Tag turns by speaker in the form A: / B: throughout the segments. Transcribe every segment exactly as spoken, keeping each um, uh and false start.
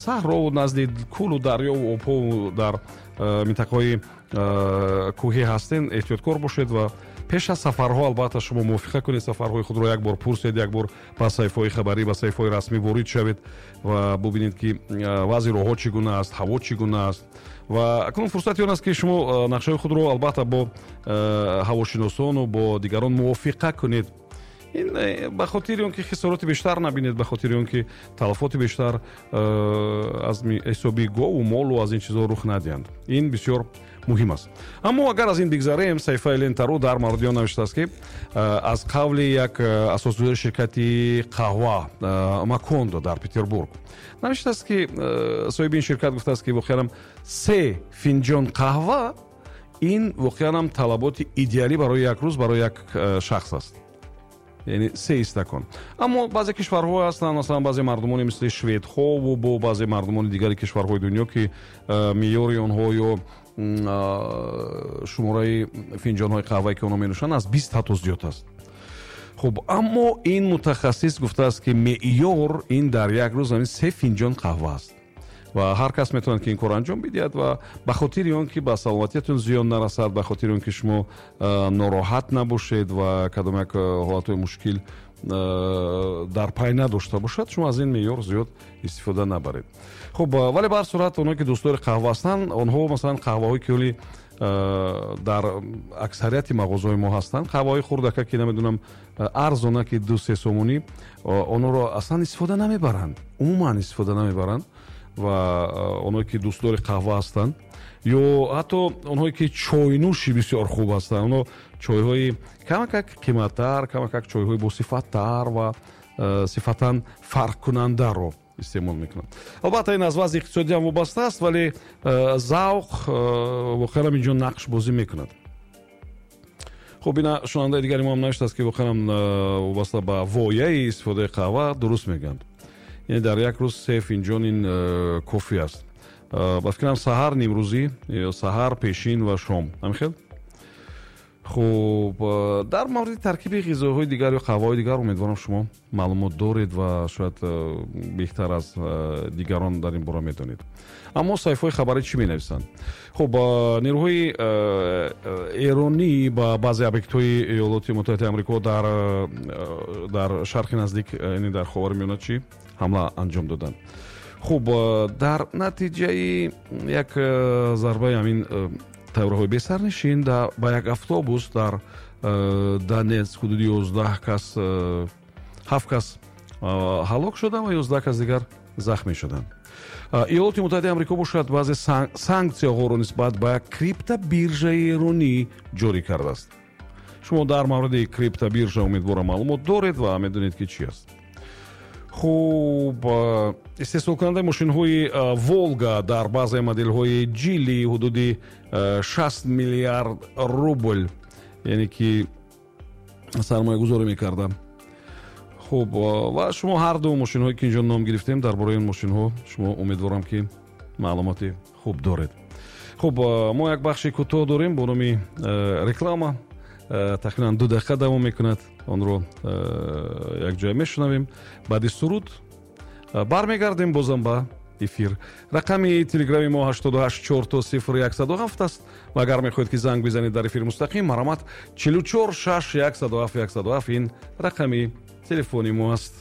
A: Саҳрову назди кӯлу дарёву обҳову дар минтақаҳои кӯҳӣ ҳастен, эҳтиёткор бошед ва пеш аз сафарҳо албатта шумо мувофиқа кунед, сафарҳои худро як бор пурсед, як бор ба саҳифаҳои хабарӣ, ба саҳифаҳои расмӣ ворид шавед ва бубинед, ки вазъи роҳҳо чӣ гуна аст, ҳаво чӣ гуна аст. Ва акнун фурсати он аст, ки шумо нақшаҳои худро албатта бо ҳавошиносону бо дигарон мувофиқа кунед. Ин ба хотири он ки хисороти бештар набинед, ба хотири он ки талафоти бештар аз ҳисоби гову молу аз ин чизҳо рух надиҳанд. Ин бисёр муҳим аст. Аммо агар аз ин бигзарем, саҳифаи Лентару дар мавриди он навиштааст, ки аз қавли як асосгузори ширкати қаҳва Макондо дар Петербург навиштааст, ки соҳиби ин ширкат гуфтааст, ки воқеанам се финҷон қаҳва ин воқеанам талаботи идеалӣ барои як рӯз барои як шахс аст, яъне се истакон. Аммо баъзе кишварҳо ҳастанд, масалан баъзе мардумоне мисли шведҳову бо баъзе мардумони дигари кишварҳои дунё, ки меъёри онҳо ё шумораи финҷонҳои қаҳвае, ки онҳо менӯшанд, аз бист ҳатто зиёд аст. Хуб, аммо ин мутахассис гуфтааст, ки меъёр ин дар як рӯз ҳамин се финҷон қаҳва аст ва ҳар кас метавонад, ки ин корро анҷом бидиҳад. Ва ба хотири он ки ба саломатиятон зиён нарасад, ба хотири он ки шумо нороҳат набошед ва кадом як ҳолатҳои мушкил дар пай надошта бошад, шумо аз ин меъёр зиёд истифода набаред. Хуб, вале ба ҳар сурат онҳое, ки дӯстдори қаҳва ҳастанд, онҳо масалан қаҳваҳое, ки ҳоли дар аксарияти мағозаҳои мо ҳастанд, қаҳваҳои хурдака, ки намедонам, арзона, ки ду се сомонӣ, онҳоро аслан истифода намебаранд, умуман истифода намебаранд. Ва онҳое, ки дӯстдори қаҳва ҳастанд ё ҳатто онҳое, ки чойнӯши бисёр хуб ҳастанд, онҳо чойҳои камакак қиматтар, камакак чойҳои босифаттар ва сифатан фарқкунандаро истеъмол мекунанд. Албатта ин аз вазъи иқтисодӣ ҳам вобаста аст, вале завқ воқеан инҷо нақш бозӣ мекунад. Хуб, ина шунавандаи дигари мо ҳам навиштааст, ки воқеан вобаста ба вояи истифодаи қаҳва дуруст мегӯянд, яъне дар як рӯз се финҷон ин кофӣ аст. Ба фикрам, саҳар, нимрӯзӣ ё саҳар, пешин ва шом, ҳамин хел. Хуб, дар мавриди таркиби ғизоҳои дигар ё қаҳваҳои дигар умедворам, шумо маълумот доред ва шояд беҳтар аз дигарон дар ин бора медонед. Аммо саҳифаҳои хабарӣ чӣ менависанд? Хуб, нерӯҳои эронӣ ба баъзе объектҳои Иёлоти Муттаҳидаи Амрико дар дар Шарқи Наздик, яъне дар Ховари Миёна, чӣ ҳамла анҷом доданд. Хуб, дар натиҷаи як зарбаи ҳамин тайёраҳои бесарнишин ба як автобус дар Донецк ҳудуди ёздаҳ кас, ҳафт кас ҳалок шуданд ва ёздаҳ кас дигар захмӣ шуданд. Иёлоти Муттаҳидаи Амрико бошад, баъзе санксияҳоро нисбат ба криптобиржаи эронӣ ҷорӣ кардааст. Шумо дар мавриди криптобиржа, умедворам, маълумот доред ва медонед, ки чӣ аст. Хуб, истеҳсолкунандаи мошинҳои Волга дар баъзе моделҳои Ҷили ҳудуди шаст миллиард рубл, яъне ки сармоягузорӣ мекарда. Хуб, ва шумо ҳар ду мошинҳое, ки инҷо ном гирифтем, дар бораи ин мошинҳо шумо, умедворам, ки маълумоти хуб доред. Хуб, мо як бахши кӯтоҳ дорем бо номи реклама, тақрибан ду дақиқа давом мекунад. Онро якҷоя мешунавем. Баъди суруд бармегардем бозам ба эфир. Рақами телеграми мо ҳаштоду ҳашт чор то сифр яксаду ҳафт аст ва агар мехоҳед, ки занг бизанед дар эфири мустақим, марҳамат, чилу чор шаш яксаду ҳафт яксаду ҳафт ин рақами телефони мо аст.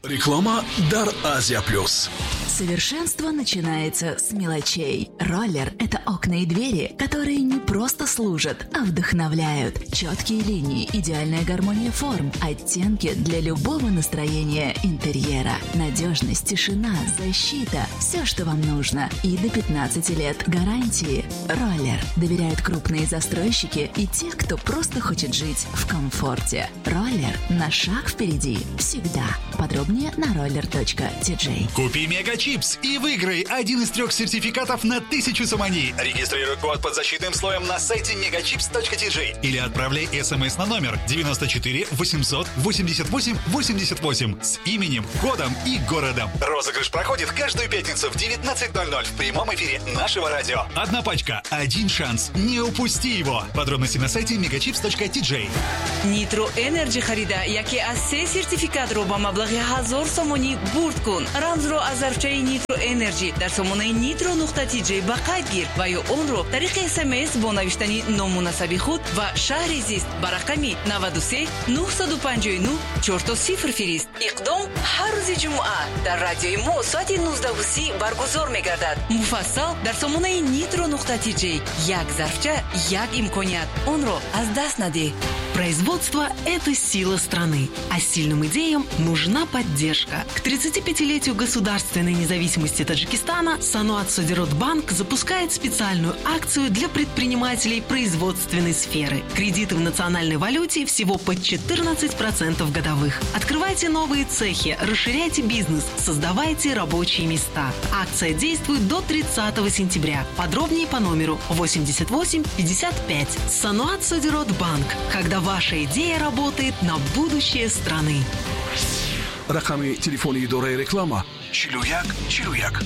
B: Реклама дар Азия Плюс.
C: Совершенство начинается с мелочей. Роллер – это окна и двери, которые не просто служат, а вдохновляют. Четкие линии, идеальная гармония форм, оттенки для любого настроения интерьера. Надежность, тишина, защита – все, что вам нужно. И до пятнадцати лет гарантии. Роллер. Доверяют крупные застройщики и те, кто просто хочет жить в комфорте. Роллер на шаг впереди. Всегда. Подробнее на roller.tj.
B: Купи Мега Чипс и выиграй один из трех сертификатов на тысячу сомони. Регистрируй код под защитным слоем на сайте megachips.tj или отправляй смс на номер девяносто четыре восемьсот восемьдесят восемь восемьдесят восемь с именем, годом и городом. Розыгрыш проходит каждую пятницу в девятнадцать ноль ноль в прямом эфире нашего радио. Одна пачка, один шанс. Не упусти его. Подробности на сайте megachips.tj.
D: Нитро Энерджи харида яке аз се сертификатро ба маблағи ҳазор сомонӣ бурд кун. Рамзро аз зарфчаи Зарфчаи Nitro Energy дар сомонаи nitro нуқта tj ба қайд гир ва ё онро тариқи С М С бо навиштани ному насаби худ ва шаҳри зист ба рақами наваду се нуҳсаду панҷоҳу нӯҳ чорто сифр фирист. Иқдом ҳар рӯзи ҷумъа дар радиои мо соати нуздаҳу си баргузор мегардад. Муфассал дар сомонаи nitro нуқта tj. Як зарфча, як имконият, онро аз даст надеҳ.
E: Производство – это сила страны, а сильным идеям нужна поддержка. К тридцатипятилетию государственной независимости Таджикистана Саноат Содирот Банк запускает специальную акцию для предпринимателей производственной сферы. Кредиты в национальной валюте всего под четырнадцать процентов годовых. Открывайте новые цехи, расширяйте бизнес, создавайте рабочие места. Акция действует до тридцатого сентября. Подробнее по номеру восемьдесят восемь пятьдесят пять. Саноат Содирот Банк. Когда ваша идея работает на будущее страны.
F: Рақами телефони идораи реклама чилу як чилу як.